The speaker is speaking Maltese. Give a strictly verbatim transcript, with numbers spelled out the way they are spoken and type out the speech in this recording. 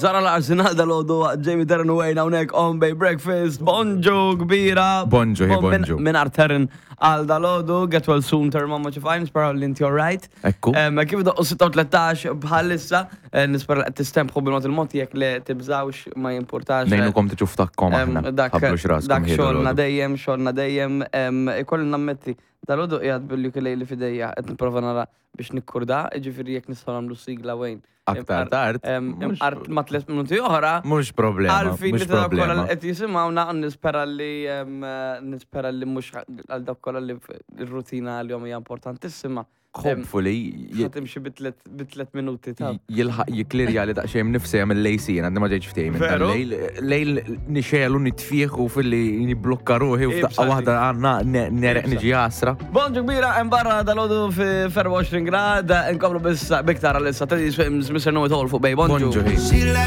Zara l-Arsenal dal-għodu, Jamie Terran u Wayne hawnhekk on Bay Breakfast. Bonġu kbira. Bonġu, hi, Bon- min- bonġu. Minn Terran għal dal-għodu, get well soon, Terran, mamma ċifajn, nispera li inti alright. Ekku. Em, Kif doqqu sitta u tlettax bħalissa, eh, nispera li qed tistempħu bil-mod il-mod, jekk li tibżawx ma jimpurtax. Ngħinukom tiġu ftakkom Em, aħna. Dak Ħablux raskom dak ħiedu xogħolna l-għodu. dejjem, xogħolna dejjem, em, ikolli nammetti, dal-għodu qiegħed bil-ukulele f'idejja qed nipprova nara biex nikkurda, jiġifieri jekk nistgħu nagħmlu sigla, Wayne. Aktar tard. Em, mhux- Imqar ma tliet minuti oħra. Mhux problema. Għalfin Mhux li ta' kolla problema. li qed jisimgħuna, nispera li em, nispera li mhux għal dak kollha li r-rutina għal-jom hija importantissima. Hopefully, Ħa timxi bi tliet bi tliet minuti ta' jilħaq jiklirja li daqsxejn nifsija mill-lejl, għandi ma ġejġ ftehim. Veru? Lejl nixelu nitfieħ u fil-li niblokka ruħi u f'daqqa Ibsa waħda għanna nereq Ibsa. niġi għasra. Bonġu kbira, hemm barra dal-għodu fi erbgħa u għoxrin grad, nkomplu biss biktar għal-issa. Teddy Swims, Mister Know It All fuq Bay. Bonġu. Bonġu, hi.